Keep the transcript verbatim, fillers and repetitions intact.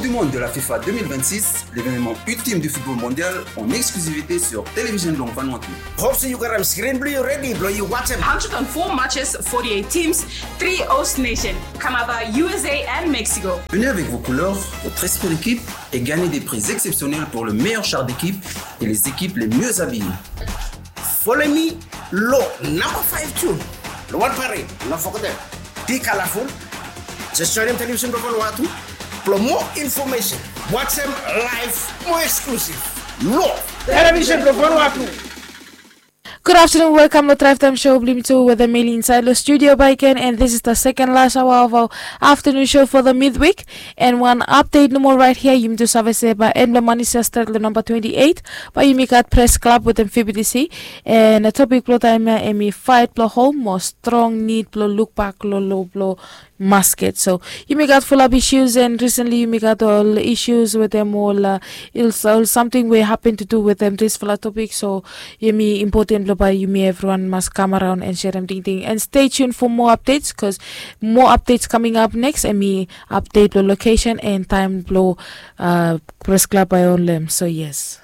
Du monde de la FIFA deux mille vingt-six, l'événement ultime du football mondial en exclusivité sur Television Blong Vanuatu. Hope se yu gat am screen blong yu redi blong yu watsem. Hundred and four matches, forty-eight teams, three host nation, Canada, U S A and Mexico. Venez avec vos couleurs, votre esprit d'équipe et gagnez des prix exceptionnels pour le meilleur char d'équipe et les équipes les mieux habillées. Follow me long namba five tune long wan parade, no forget dem. Be colorful. Just join dem Television Blong Vanuatu blong more information. Watsem live, more exclusive. Long Television Blong Vanuatu. Good afternoon, welcome long Drive Time Show blong yumi tu wetem Meli insaed long studio bakegen, and this is the second last hour of our afternoon show for the midweek. And wan update nomo right here, yumi tu save se bae en blong manis ya stret long namba twenty-eight, bae yumi gat Press Club wetem F B T C. And topik blong taem ya hemi faet blong hom mo strong nid blong lukbak long lo blong masket. So yumi gat fulap issues, and recently yumi gat ol issues wetem ol, uh, ol, ol samting we hapen tu du wetem disfala topik. So hemi impoten blong bae yumi evriwan mas kam araon and serem tingting. And stay tuned for more updates, 'cause more updates coming up next. Hemi update blong location and taem blong, uh, Press Club bae holem. So yes.